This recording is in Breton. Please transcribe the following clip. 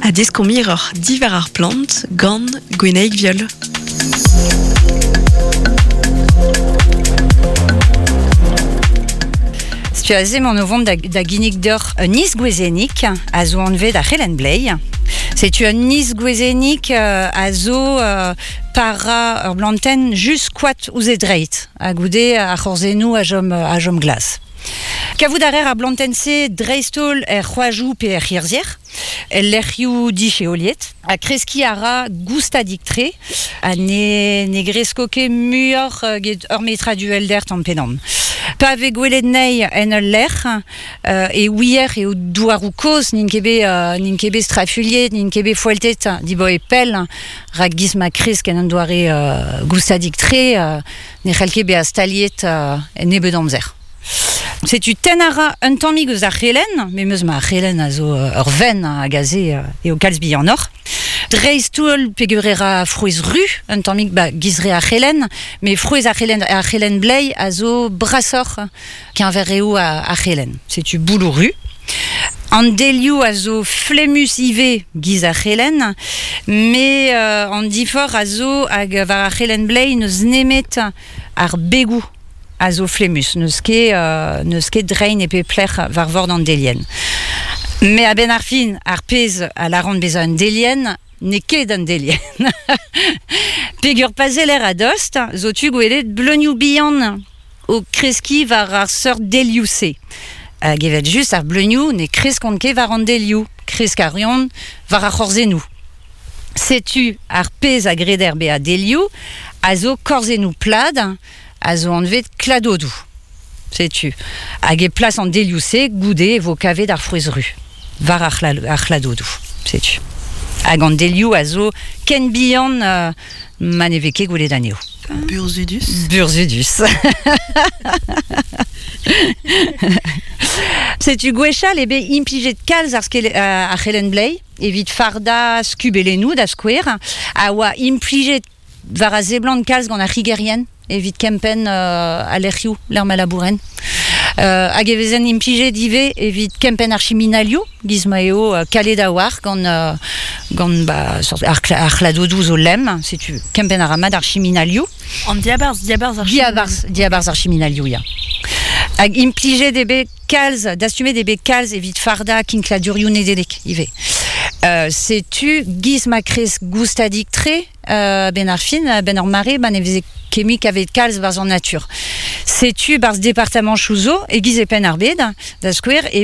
Ha deskomp hiroc'h diwar ar plant gant Gwenaig Viol. Setu aze emaon o vont da, da ginnig deoc'h un isgwezennig a zo anvet ar c'helenn bleiz. Setu un isgwezennig euh, a zo euh, para ur blantenn just koad ouzh e dreid ha goude ar c'horzennoù a chom, a chom glas. Kavout a reer ar blantenn-se dreist-holl er c'hoajoù pe er c'hirzhier, el lec'hioù disheoliet, ha kreskiñ a ra goustadik-tre ha ne, ne gresko ket muioc'h get ur metrad uhelder tamm pe damm. Pa vez gwelet anezhi en ul lec'h e ouier eo douaroù kozh n'int ket bet n'int ket bet strafuilhet, n'int ket bet foeltet dibaoe pell, rak giz ma kresk en un doare goustadik-tre ne c'hell ket bezañ staliet en nebeut amzer. Setu tenn a ra un tammig eus ar c'helenn, memes ma c'helenn a zo ur venn hag aze eo kalz bihanoc'h. Dreist-holl peogwir e ra frouezh ru un tammig ba giz re ar c'helenn, met frouezh ar c'helenn ar c'helenn bleiz a zo brasoc'h keñver reoù ar c'helenn. Setu bouloù ru. An delioù a zo flemmus ivez giz ar c'helenn, met an diforc'h a zo hag war ar c'helenn bleiz n'eus nemet ar begoù a zo flemmus, n'eus ket, n'eus ket drein e pep lec'h war vord an delienn. Met a-benn ar fin, ar pezh a lâran bezañ un delienn n'eo ket un delienn. Peger pa seller a-dost zo tu gwelet bleunioù bihan o kreskiñ war ar seurt delioù-se. Hag evel-just ar bleunioù ne kreskont ket war an delioù, kresk a reont war ar c'horzennoù. Setu ar pezh a greder bezañ delioù a zo korzennoù plat a zo anvet kladodoù. Setu. Hag e plas an delioù-se, goude e vo kavet ar frouezh ru war ar c'hladodoù. Setu. Hag an delioù a zo ken bihan ma ne vez ket gwelet anezho. Burzhudus. Burzhudus. Setu gwechall eo bet implijet kalz ar, ar c'helenn-bleiz evit fardañ skubelennoù da skouer, a oa implijet war a seblant kalz gant ar c'higerien evit kempenn al lec'hioù lec'h ma labourent. Hag e vezent implijet ivez evit kempenn ar chiminalioù, giz ma eo kalet a-walc'h gant, gant ba, ar, ar c'hladodoù zo lemm, setu kempenn a ra mat ar chiminalioù. An diabarzh, diabarzh ar Diabarzh, diabarzh ar chiminalioù, ya. Hag implijet eo bet kalz, dastumet eo bet kalz evit fardañ kinkladurioù Nedeleg ivez. Setu giz ma kresk goustadik-tre benn ar fin, benn ur mare, ma ne veze ket mui kavet kalz barzh an natur. Setu barzh departamanchoù zo, e-giz e Penn-ar-Bed, da skouer, e